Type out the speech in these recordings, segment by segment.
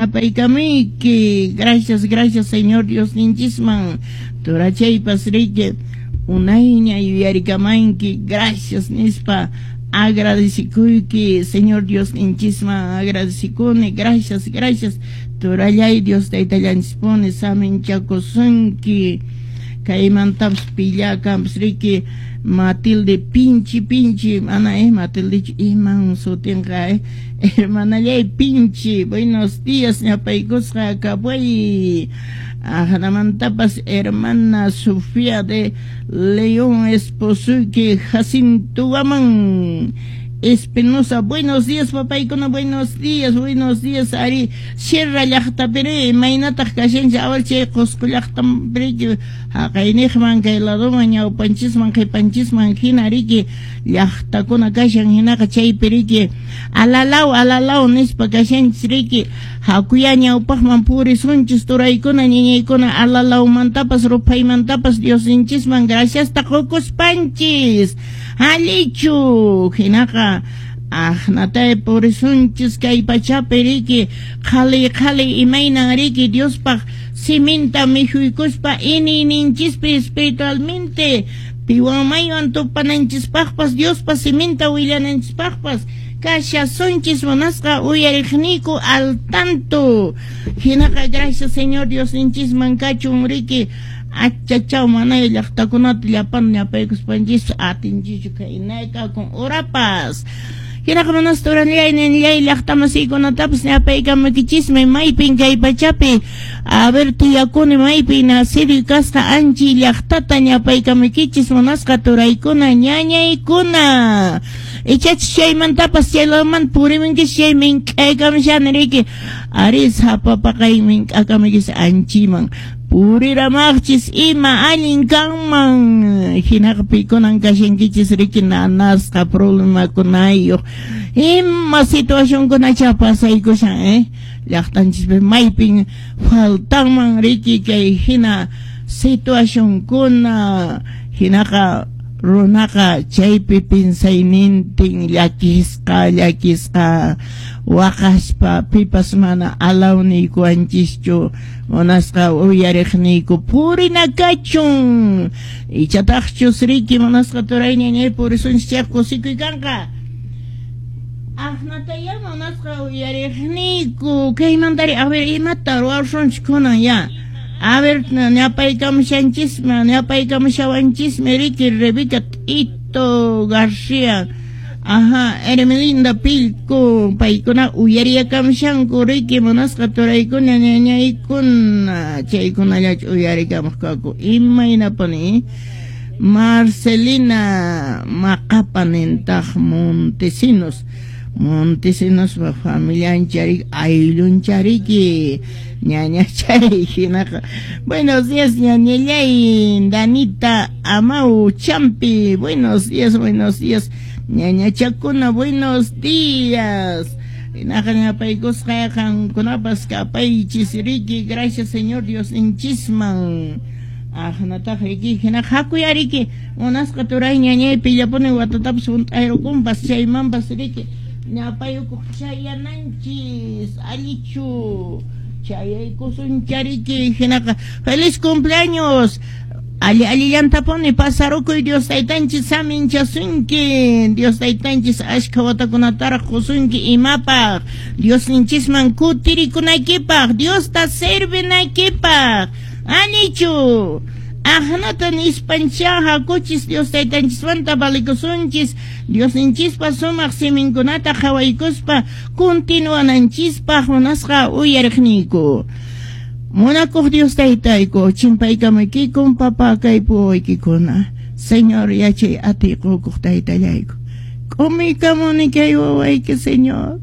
ñapaykamuyki. Gracias, gracias Señor Diosninchisman. Turachaypas riki unayña yuyarikamanki. Gracias nispa agradecikuyki Señor Diosninchisman, agradecikuni. Gracias, gracias. Turallay Dios taytallanchispuni saminchakusunki. Kaymantapas pillakampas riki Matilde pinchi pinchi, mana Matilde iman sutinqa hermanallay pinchi, buenos días ñapaykusqa kapay. Ajnamantapas hermana Sofía de León esposuki Jacinto Guamán Espinosa, buenos días papaykuna, buenos días ari Sierra llaqtapiri imaynataq kashanchik awal chay Qusqu llaqtanpiriki haqayniqman kay ladoman ñawpanchisman qhipanchisman hina riki llaqtakuna kashan hinaqa chaypiriki alalaw alalaw nispa kashanchis riki hakuya ñawpaqman purisunchis turaykuna ñiñaykuna alalawmantapas ruphaymantapas Diosninchisman graciasta qukuspanchis allichu hinaqa aqnatay purisunchis kay pachapi riki qhali qhali imaynan riki Diospaq siminta mikhuykuspa iniyninchispi espiritualmente piwan maywan tupananchispaqpas Diospa siminta willananchispaqpas kashasunchis munasqa uyariqniyku al tanto hinaqa gracias Señor Diosninchisman kachun riki achachaw manay llaqtakunata llapan ñapaykuspanchis atinchichu kaynayka con urapas hinaqa munasqa turallay ninllay llaqtamasiykunatapas ñapaykamukichismi maypin kay pachapi a ver tiyakuni maypi nacido kasqa anchi llaqtata ñapaykamukichis munasqa turaykuna ñañaykuna ichachis chaymantapas chaylaman purimunkichis chay mink'aykamushani riki ari sapapaqay mink'akamukis anchiman puriramaqchis ima allin kanman hinaqa pikunan kashankichis riki nanasqa problemakunayuq ima situacionkunacha pasaykushan llaqtanchispi maypin faltanman riki kay hina situacionkuna hinaqa runaqa chaypi pinsaynintin llakisqa llakisqa waqaspa pipas mana alawniykuwanchischu munasqa uyariqniyku purina kachun ichataqchus riki munasqa turay ñañay purisunchis chayqa kusikuy kanqa aqnataya munasqa uyariqniyku kaymantari a ver imata ruwasunchis kunan ya. A ver, ñapaykamushanchismi, ñapaykamushawanchismi riki Rebeca Tito García, ajá, Hermelinda Pilco, paykuna uyariyakamushanku riki munasqa turaykuna ñañaykuna, chaykunallachu uyarikamuq kaku imaynapuni Marcelina Maqapa nintaq Montesinos, Montesinos familianchariki ayllunchariki ñañachay hinaqa. Buenos días ñañallay Danita Amau Champi, buenos días ñañachakuna, buenos días hinaqa ñapaykusqa qankunapas kapaychis riki gracias Señor Diosninchisman aqnataq riki hinaqa hakuya riki munasqa turay ñañay pillapuni watatapas hunt'ayrukunpas chaymanpas riki ñapayukuq chayananchis allichu chayaykusunchariki hinaqa feliz cumpleaños alli allillantapuni pasarukuy Dios taytanchis saminchasunki Dios taytanchis ashkha watakunataraq qusunki imapaq Diosninchisman kutirikunaykipaq Diosta servinaykipaq allichu aqnata nispancha hakuchis Dios taytanchismanta valikusunchis Diosninchispa sumaq siminkunata qhawaykuspa continuananchispaq munasqa uyariqniyku munakuq Dios taytayku chimpaykamuykikun papa kaypuwaykikuna Señor yachay atiy qukuq taytallayku k'umuykamuni kay wawayki Señor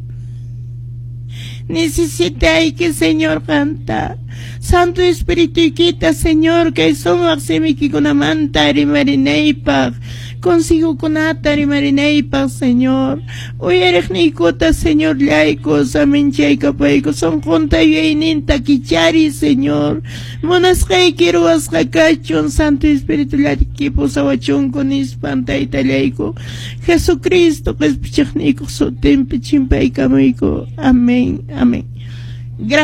necesitayki Señor qanta Santo Espirituykita Señor kay sumaq simiykikunamanta rimarinaypaq consigukunata rimarinaypaq Señor uyariqniykuta Señor llayku saminchaykapayku sunqunta yuyayninta kichari Señor munasqayki ruwasqa kachun Santo Espíritu llayki pusawachunku nispan taytallayku Jesucristo qhispichiqniykuq sutinpi chimpaykamuyku. Amén, amén. Gracias.